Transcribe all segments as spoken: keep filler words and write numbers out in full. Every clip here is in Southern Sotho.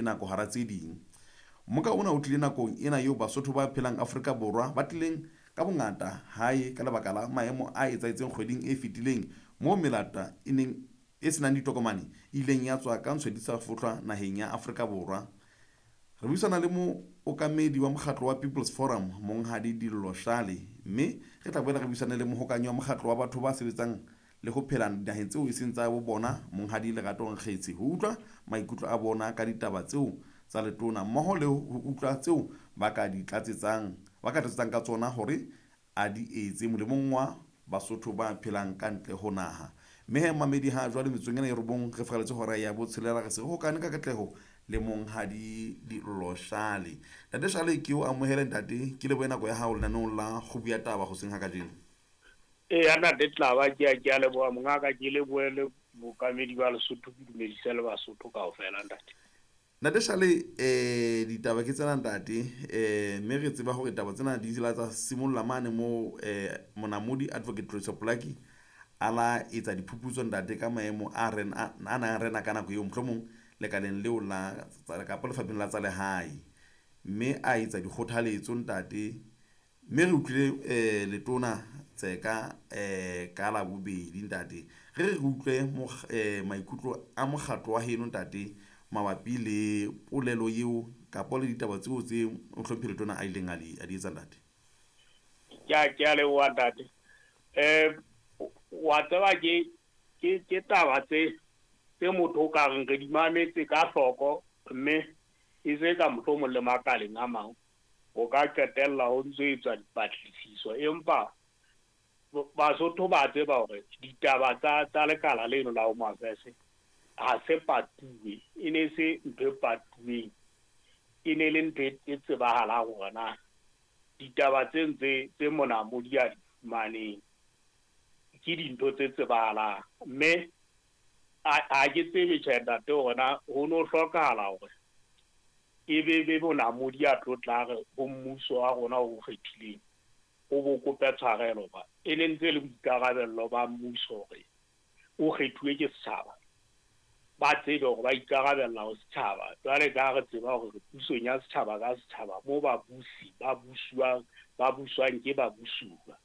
Nako hara tse ding. Mmoka ona o tlile nakong ena eo Basotho ba phelang Afrika Borwa ba tlileng ka bongata hae ka lebaka la maemo a etsahetseng kgweding e fetileng moo melata e neng e senang ditokomane e ileng ya tswa ka ntshwe di sa fohlwa naheng ya Afrika Borwa. Re buisana le mookamedi wa mokgatlo wa People's Forum Monghadi Dillo Shale, mme re tla boela re buisane le mohokanyi wa mokgatlo wa batho ba sebetsang le ho phela dinaheng tseo e seng tsa bo bona Monghadi Lerato Nkgetse ho utlwa maikutlo a bona ka ditaba tseo tsa letona mmoho le ho utlwa tseo ba ka di tlatsetsang ba ka tlatsetsang ka tsona hore a di etse molemong wa Basotho ba phelang ka ntle ho naha. Mme he mamedi ha jwale metsotsong ena e robong re furaletse hora ya botshelela re se re hokane ka katleho le Monghadi Dillo Shale. Ntate Shale, ke o amohele ntate, ke lebohe nako ya hao lenaneong la Kgubu ya Taba hoseng ha kajeno. Eya ntate Tlaba, ke a ke a leboha mongaka, ke lebohe le bookamedi ba Lesotho, ke dumedise le Basotho kaofela ntate. Ntate Shale, eh ditaba ke tsena ntate, eh mme re tseba hore taba tsena di la tsa simolla mane mo eh monamodi Advocate Tlosa Polaki a la etsa diphuputso ntate ka maemo a ren a nang rena ka nako eo mohlomong lekaleng leo la kapa lefapheng la tsa lehae, mme a etsa dikgothaletso ntate, mme re utlwile eh letona Tseka eh ka la bobedi ntate. Re re utlwe eh maikutlo a mokgatlo wa heno ntate mabapi le polelo eo kapa le ditaba tseo tse mohlomphehi letona a ileng a di a di etsa ntate. Ke a ke a leboha ntate. Eh wa tseba ke ke ke taba tse tse motho o ka reng re di mametse ka hloko, mme e se ka mohlomong le makaleng a mang o ka qetella ho ntso etswa dipatlisiso, empa Basotho ba tseba hore ditaba tsa tsa lekala leno la Home Affairs ha se patuwe, e ne se ntho e patuweng, e ne le ntho e tsebahalang hore na ditaba tse ntse tse monamodi a di fumaneng ke dintho tse tsebahalang. Mme ha ke tsebe tjhe ntate hore na ho no hlokahala hore e be be monamodi a tlo tla re ho mmuso wa rona o kgethileng o bo kope tshwarelo, ba e ne ntse le boikarabello ba mmuso hore o kgethuwe ke setjhaba, ba tsebe hore ba ikarabella ho setjhaba. Jwale ka re tseba hore re pusong ya setjhaba ka setjhaba moo babusi ba busuwang ba buswang ke ba busuwa.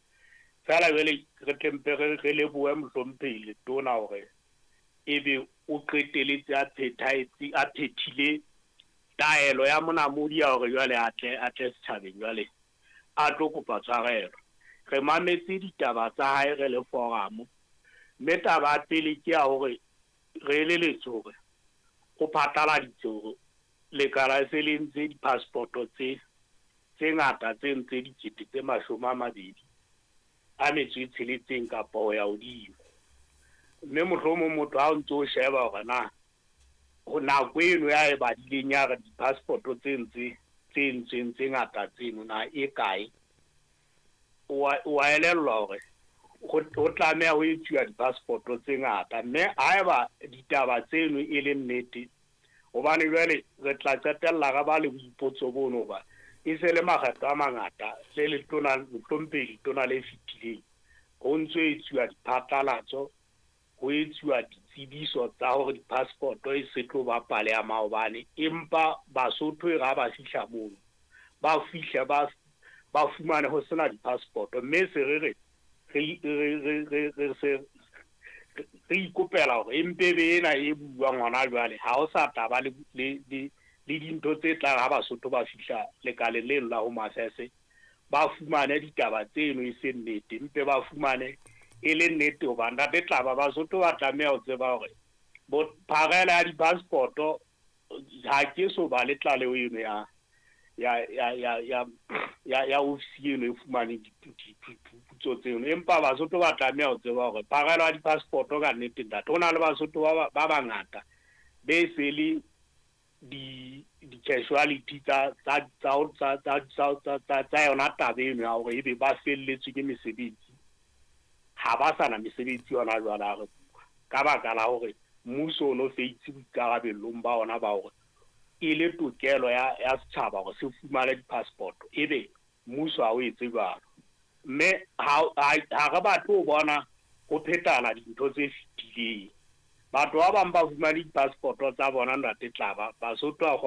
Feela jwale re tle mpe re re lebohe mohlomphehi letona hore ebe o qeteletse a phethahetse a phethile taelo ya monamodi ya hore jwale a tle a tle setjhabeng jwale a tlo kopa tshwarelo. Re mametse ditaba tsa hae re le forum, mme taba ya pele ke ya hore re eleletswe hore o phatlaladitse hore lekala se le ntse di-passport-o tse tse ngata tse ntse dikete tse mashome a mabedi a metso e tsheletseng kapa ho ya hodimo. Mme mohlomong motho ha o ntso o sheba hore na ho nako eno ya e badileng ya re di-passport-o tse ntse tse entsweng tse ngata tseno na e kae, wa elellwa hore ho tlameha ho etsuwa di-passport-o tse ngata. Mme haeba ditaba tseno e le nnete, hobane jwale re tla qetella re ba le boipotso bono hoba e se le makgetlo a mangata le letona mohlomphehi letona le fetileng ho ntso etsuwa diphatlalatso, ho etsuwa ditsebiso tsa hore di-passport-o e se tlo ba pale ya maobane, empa Basotho e re ha ba fihla mono ba fihle ba ba fumane ho sena di-passport-o. Mme se re re re re re re se re ikopela hore empe be ena e buuwang hona jwale ha ho sa tla ba le le le le dintho tse tlang ha Basotho ba fihla lekaleng leno la Home Affairs ba fumane ditaba tseno e se nnete, mpe ba fumane e le nnete. Hoba ntate Tlaba Basotho ba tlameha ho tseba hore bo pharela ya di-passport-o ha ke so ba le tlaleho eno ya ya ya ya ya ya ya ofisi eno e fumaneng diphuputso tseno, empa Basotho ba tlameha ho tseba hore pharela ya di-passport-o ka nnete ntate ho na le Basotho ba ba bangata be se le di di-casualty tsa tsa tsa tsa tsa tsa tsa yona taba eno ya hore ebe ba felletswe ke mesebetsi, ha ba sa na mesebetsi yona jwale ha re bua, ka baka la hore mmuso o no feitse boikarabellong ba ona ba hore e le tokelo ya ya setjhaba hore se fumane di-passport, ebe mmuso ha o etse jwalo. Mme ha ha re batle ho bona ho phethahala dintho tse fetileng. Batho ba bang ba fumane di-passport-o tsa bona ntate Tlaba, Basotho a